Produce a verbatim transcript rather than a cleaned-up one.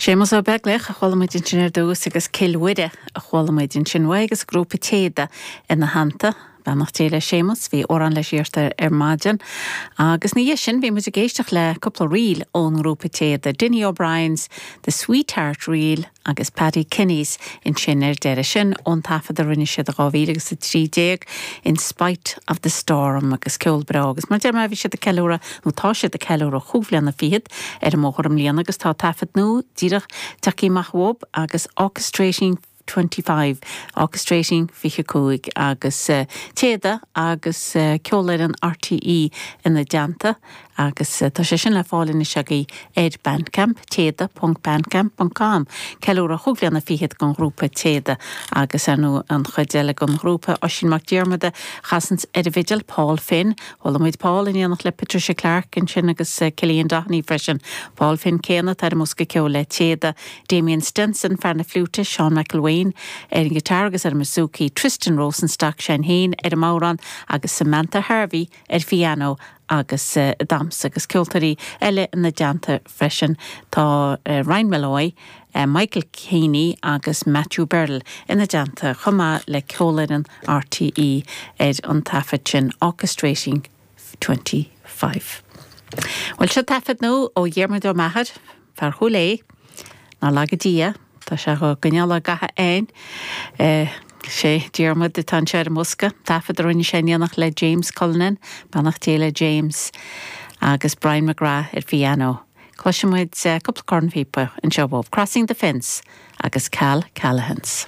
Séamus Ó Beaglaoich a chuala muid ansin ar dtús agus Cill Mhuire a chuala muid ansin uaidh agus grúpa Téada ina theannta. Beannacht Dé le Séamus, bhí amhrán leis iarrta ar maidin. Agus ina dhiaidh sin bhí muid ag éisteacht le cúpla ríl ón ngrúpa Téada, Dinny O'Brien's, The Sweetheart Reel agus Paddy Kenny's ansin ar deireadh sin ón taifead a rinne siad dhá mhíle agus a trí déag In Spite of the Storm agus ceol breá agus mar deir mé bhí siad ag ceiliúradh nó tá siad ag ceiliúradh chúig bhliana fichead ar an mbóthar i mbliana agus tá taifead nua díreach tagtha amach uathu agus Orchestrating twenty five, Orchestrating fiche cúig agus uh, Téada agus uh, ceolfhoireann R T E ina dteannta agus uh, tá sé sin le fáil anois agaibh ar Bandcamp téada ponc bandcamp ponc com ceiliúradh chúig bhliana fichead den ghrúpa Téada agus nó an chuid eile den ghrúpa Oisín Mac Diarmada chasann ar an bhfidil Paul Finn, Chuala muid Paul in éineacht le Patricia Clark ansin agus uh, Cillian Doheny freisin. Paul Finn céanna ar an mbosca ceoil le Téada, Damien Stenson fear na fliúite, Sean McElwain ar an guitar agus ar an bouzouki, Tristan Rosenstock sin féin ar an mbodhrán agus Samantha Harvey ar piano agus uh, damhsa agus ceoltóirí eile ina dteannta freisin tá uh, Ryan Malloy, uh, Michael Caney agus Matthew Burl ina dteannta chomh maith le ceolfhoireann R T E ar an taifead sin Orchestrating twenty-five. Well seo taifead nua ó Dhiarmuid Ó Meachair, fear Chúil Aodha, nár laga Dia, tá sé go gcoinneáil gach aon. Sé Diarmuid atá sé ar an mbosca, taifead a rinne sé in éineacht le James Cullinan, beannacht Dé le James agus Brian McGrath ar piano. Cloisfimid cúpla cornphíopa anseo Crossing the Fence agus Cal Callahan's.